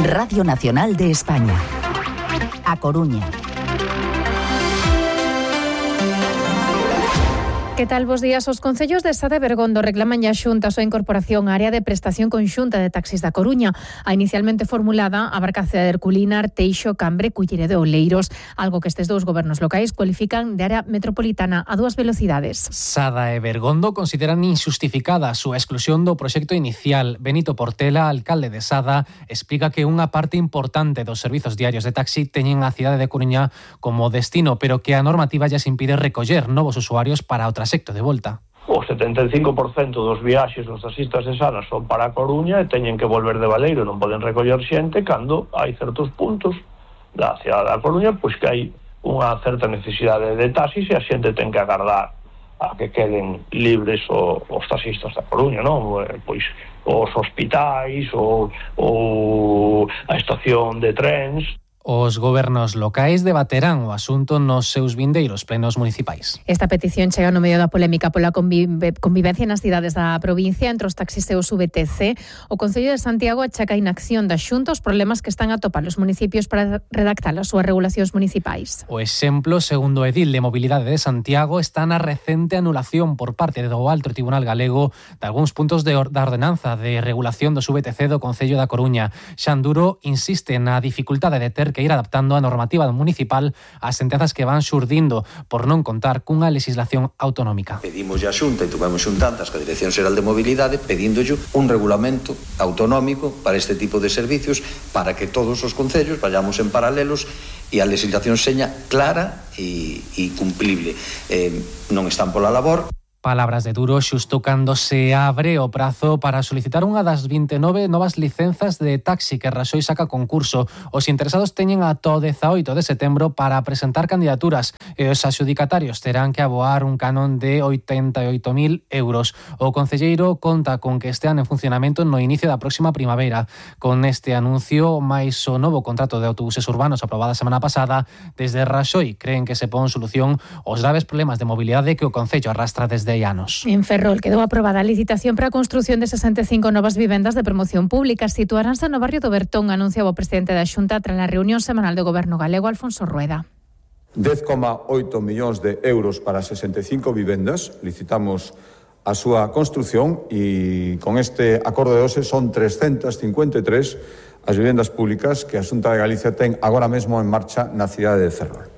Radio Nacional de España. A Coruña. Que tal, bos días? Os concellos de Sade e Bergondo reclaman a Xunta a súa incorporación á área de prestación conxunta de taxis da Coruña. A inicialmente formulada abarca a cidade de Herculina, Arteixo, Cambre, Culleredo e Oleiros, algo que estes dous gobernos locais cualifican de área metropolitana a dúas velocidades. Sada e Bergondo consideran injustificada a súa exclusión do proxecto inicial. Benito Portela, alcalde de Sada, explica que unha parte importante dos servizos diarios de taxi teñen a cidade de Coruña como destino, pero que a normativa lles impide recoller novos usuarios para o trasecto de volta. O 75% dos viaxes dos taxistas de Sada son para a Coruña e teñen que volver de Baleiro, non poden recoller xente cando hai certos puntos da cidade da Coruña pois que hai unha certa necesidade de taxis e a xente ten que agardar a que queden libres os taxistas da Coruña, non? Pois os hospitais ou a estación de trens. Os gobernos locais debaterán o asunto nos seus vindeiros plenos municipais. Esta petición chega no medio da polémica pola convivencia nas cidades da provincia entre os taxis e os VTC. O Concello de Santiago achaca a inacción da Xunta os problemas que están a topar os municipios para redactar as súas regulacións municipais. O exemplo, segundo o edil de Mobilidade de Santiago, está na recente anulación por parte do Alto Tribunal Galego de algúns puntos da ordenanza de regulación dos VTC do Concello da Coruña. Xan Duro insiste na dificultade de ter que ir adaptando a normativa municipal ás sentenzas que van xurdindo por non contar cunha legislación autonómica. Pedimos a Xunta e tuvemos xuntantas ca Dirección Xeral de Mobilidade pedíndolle un regulamento autonómico para este tipo de servicios para que todos os concellos vayamos en paralelos e a legislación seña clara e cumplible. Non están pola labor. Palabras de Duro xusto cando se abre o prazo para solicitar unha das 29 novas licenzas de taxi que Raxoi saca concurso. Os interesados teñen ata o 18 de setembro para presentar candidaturas e os adxudicatarios terán que aboar un canon de 88.000 euros. O concelleiro conta con que estean en funcionamento no inicio da próxima primavera. Con este anuncio, máis o novo contrato de autobuses urbanos aprobada a semana pasada, desde Raxoi creen que se pon solución aos graves problemas de mobilidade que o concello arrastra desde anos. En Ferrol quedou aprobada a licitación para a construción de 65 novas vivendas de promoción pública. Situaránse no barrio do Bertón, anunciaba o presidente da Xunta tras a reunión semanal do Goberno galego, Alfonso Rueda. 10,8 millóns de euros para 65 vivendas. Licitamos a súa construción e con este acordo de hoxe son 353 as vivendas públicas que a Xunta de Galicia ten agora mesmo en marcha na cidade de Ferrol.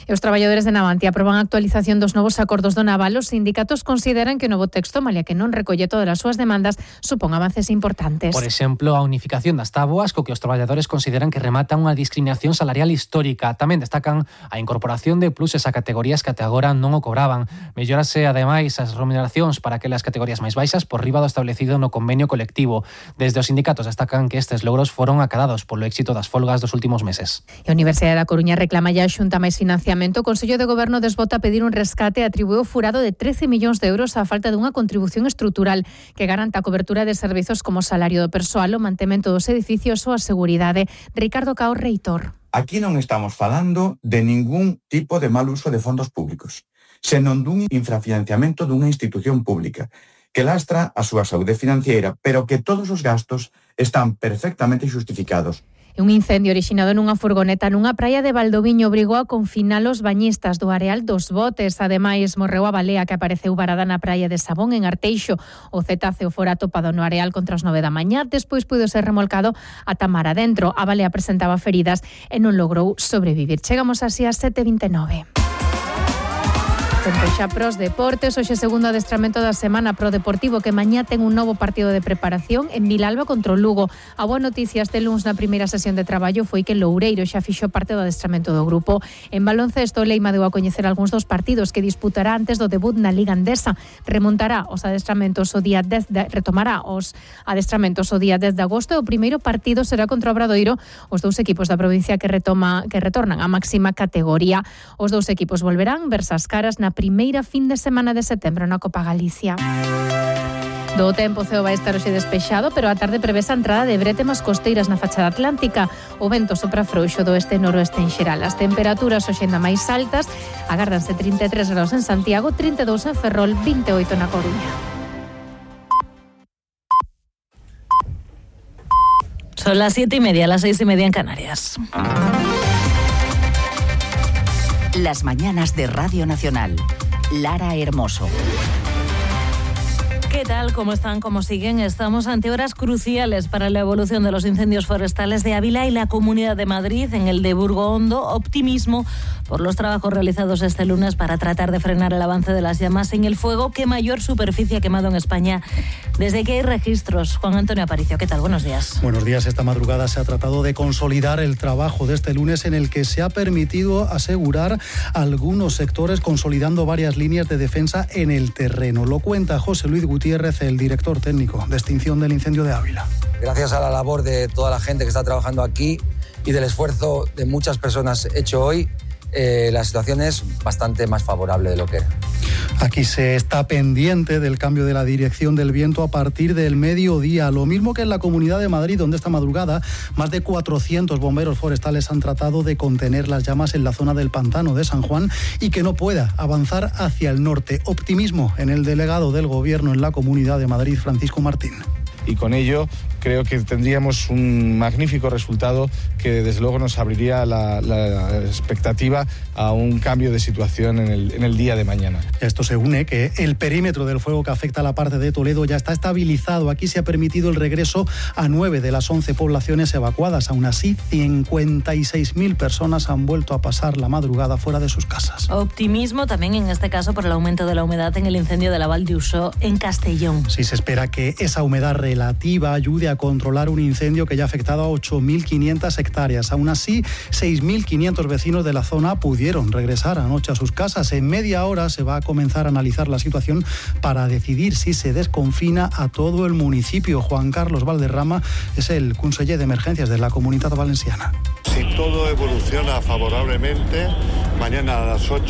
E os traballadores de Navantia aproban a actualización dos novos acordos do naval. Os sindicatos consideran que o novo texto, malia que non recolle todas as súas demandas, supón avances importantes. Por exemplo, a unificación das táboas, co que os traballadores consideran que remata unha discriminación salarial histórica. Tamén destacan a incorporación de pluses a categorías que até agora non o cobraban. Mellorase, ademais, as remuneracións para aquelas categorías máis baixas por riba do establecido no convenio colectivo. Desde os sindicatos destacan que estes logros foron acadados polo éxito das folgas dos últimos meses. E a Universidade da Coruña reclama ya a Xunta máis financiamento. O Consello de Goberno desbota a pedir un rescate e atribuíu furado de 13 millóns de euros á falta dunha contribución estrutural que garanta a cobertura de servizos como o salario do persoal, o mantemento dos edificios ou a seguridade. Ricardo Cao, reitor. Aquí non estamos falando de ningún tipo de mal uso de fondos públicos, senón dun infrafinanciamento dunha institución pública que lastra a súa saúde financiera, pero que todos os gastos están perfectamente xustificados. Un incendio orixinado nunha furgoneta nunha praia de Valdoviño obrigou a confinar os bañistas do Areal dos Botes. Ademais, morreu a balea que apareceu varada na praia de Sabón, en Arteixo. O cetáceo fora atopado no Areal contra as 9 da mañá. Despois puido ser remolcado ata mar adentro. A balea presentaba feridas e non logrou sobrevivir. Chegamos así a 7:29. Tempo xa pros deportes, hoxe segundo adestramento da semana pro Deportivo que mañá ten un novo partido de preparación en Vilalba contra o Lugo. A boa noticia este luns na primeira sesión de traballo foi que Loureiro xa fixo parte do adestramento do grupo. En baloncesto, Leima deu a coñecer algúns dos partidos que disputará antes do debut na Liga Andesa. Retomará os adestramentos o día 10 de agosto e o primeiro partido será contra o Obradoiro, os dous equipos da provincia que retornan á máxima categoría. Os dous equipos volverán verse as caras na primeira fin de semana de setembro na Copa Galicia. Do tempo, o ceo vai estar hoxe despexado, pero a tarde prevese a entrada de brétemas costeiras na fachada atlántica. O vento sopra frouxo do oeste e noroeste en xeral. As temperaturas hoxe ainda máis altas, agárdanse 33 graus en Santiago, 32 en Ferrol, 28 na Coruña. Son las 7:30, las 6:30 en Canarias. Las mañanas de Radio Nacional. Lara Hermoso. ¿Qué tal? ¿Cómo están? ¿Cómo siguen? Estamos ante horas cruciales para la evolución de los incendios forestales de Ávila y la Comunidad de Madrid. En el de Burgo Hondo, optimismo por los trabajos realizados este lunes para tratar de frenar el avance de las llamas en el fuego que mayor superficie ha quemado en España desde que hay registros. Juan Antonio Aparicio, ¿qué tal? Buenos días. Buenos días. Esta madrugada se ha tratado de consolidar el trabajo de este lunes en el que se ha permitido asegurar algunos sectores consolidando varias líneas de defensa en el terreno. Lo cuenta José Luis Gutiérrez, el director técnico de extinción del incendio de Ávila. Gracias a la labor de toda la gente que está trabajando aquí y del esfuerzo de muchas personas hecho hoy, la situación es bastante más favorable de lo que era. Aquí se está pendiente del cambio de la dirección del viento a partir del mediodía, lo mismo que en la Comunidad de Madrid, donde esta madrugada más de 400 bomberos forestales han tratado de contener las llamas en la zona del pantano de San Juan y que no pueda avanzar hacia el norte. Optimismo en el delegado del Gobierno en la Comunidad de Madrid, Francisco Martín. Y con ello creo que tendríamos un magnífico resultado que desde luego nos abriría la expectativa a un cambio de situación en el día de mañana. Esto se une que el perímetro del fuego que afecta a la parte de Toledo ya está estabilizado. Aquí se ha permitido el regreso a 9 de las 11 poblaciones evacuadas. Aún así, 56.000 personas han vuelto a pasar la madrugada fuera de sus casas. Optimismo también en este caso por el aumento de la humedad en el incendio de la Val d'Usó en Castellón. Sí, se espera que esa humedad relativa ayude a controlar un incendio que ya ha afectado a 8.500 hectáreas. Aún así, 6.500 vecinos de la zona pudieron regresar anoche a sus casas. En media hora se va a comenzar a analizar la situación para decidir si se desconfina a todo el municipio. Juan Carlos Valderrama es el conseller de Emergencias de la Comunitat Valenciana. Si todo evoluciona favorablemente, mañana a las 8